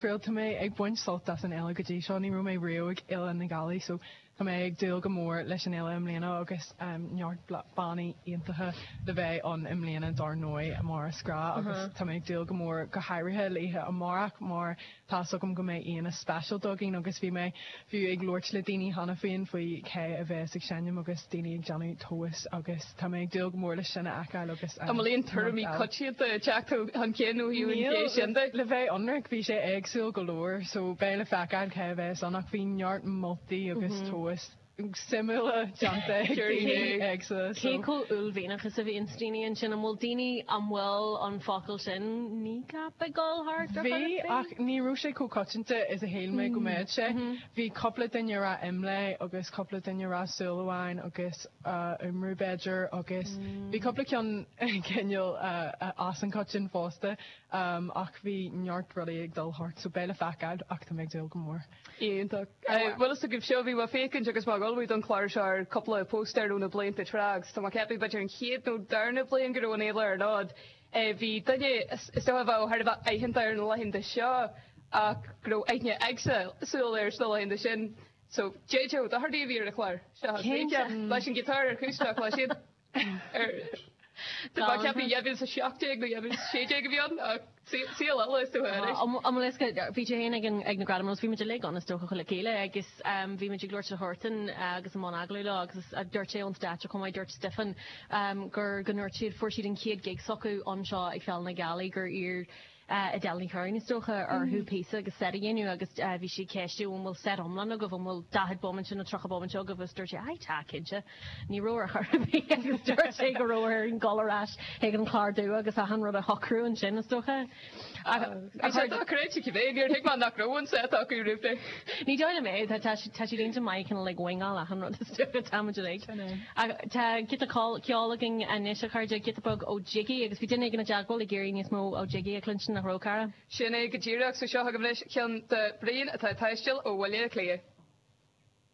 Bhuel, tá mé ag baint sult as an fhéile go dtí seo. Ní raibh mé riamh ag Fhéile na Gealaí so tá mé ag dúil go mór leis an fhéile i mbliana agus neart bannaí iontacha le bheith ann i mbliana dár ndóigh mar is gnáth agus tá mé ag dúil go mór go háirithe le oíche amárach mar Tá's agam go mbeidh aíonna speisialta againn agus bhí mé fiú ag labhairt le daoine cheana féin faoi cé a bheas ag seinm agus daoine ag déanamh tomhas agus tá mé ag dúil go mór leis sin a fheiceáil agus An bhfuil aon tuairimí coitianta ag teacht chun cinn ó thaobh an ghé sin de? Le bheith ionraic, bhí sé éagsúil go leor so beidh le feiceáil cé a bheas ann ach bhí neart moltaí agus tomhas suimiúla déanta ag daoine éagsúla. Cé chomh uaillmhianach is a bhíonns daoine ansin? An bhfuil daoine, an bhfuil an focal sin kneecap ag dul thart ar chor ar Bhí, bith? ach ní raibh sé chomh coitianta is a shíl mé go mbeadh sé. Bhí cúpla duine ag rá Imlé agus cúpla duine ag rá Súil Amháin agus Iomramh b'fhéidir agus bhí cúpla ceann cineál as an choiteann fosta ach bhí neart rudaí ag dul thart so beidh le feiceáil ach tá mé ag dúil go mór. Iontach. Bhfuil fhios agaibh seo, bhí mé ag féachaint agus mé ag ullmhú don chlár seo ar cúpla póstaer ó na blianta tráth agus tá mé ag ceapadh b'fhéidir an chéad nó darna bliain go raibh an fhéile ar an fhód, bhí duine is dócha a bheadh thar a bheith aitheanta ar na laethanta seo ach go raibh aithne éagsúil air sna laethanta sin. So, JJ Ó Dochartaigh a bhí ar an chlár. Seo, leis an giotár acústach leis siad. Tá mé ag ceapadh 2017 nó 2016 a bhí ann ach saol eile is dócha anois. An bhfuil fhios agat, bhí tú féin ag na Gradaim agus bhí muid uilig ann is dócha le chéile agus bhí muid ag labhairt le Huartan agus i mbun agallaimh leo agus dúirt sé ón stáitse chomh maith, dúirt Stephen gur go ndúirt siad, fuair siad an chéad gig s'acu anseo ag Féile na Gealaí gur iarr Edel Ní Churraoin, is dócha, orthu píosa agus set a dhéanamh agus bhí sí ag ceistiú an bhfuil set iomlán agaibh, an bhfuil 40 bomaite nó 30 bomaite agaibh agus dúirt sé aye tá, cinnte. Ní raibh ar chor ar bith agus dúirt sé go raibh orainn dul ar ais chuig an chlár dubh agus achan rud a shocrú ansin, is dócha. Bhí sé dochreidte cibé, níor thuig mé nach raibh an set acu roimh ré. Ní dóigh liom é, tá siad iontach maith cineál ag wingáil achan rud is dócha, tá muid uilig. Ach tá giota ceoil againn anois, a chairde, giota beag ó Jiggy, agus bhí duine éigin i dteagmháil ag iarraidh níos mó ó Jiggy a chluinstin, nach raibh, cara? Sin é go díreach. So seo agaibh anois ceann de Brian atá ag taisteal ó Bhaile Átha Cliath.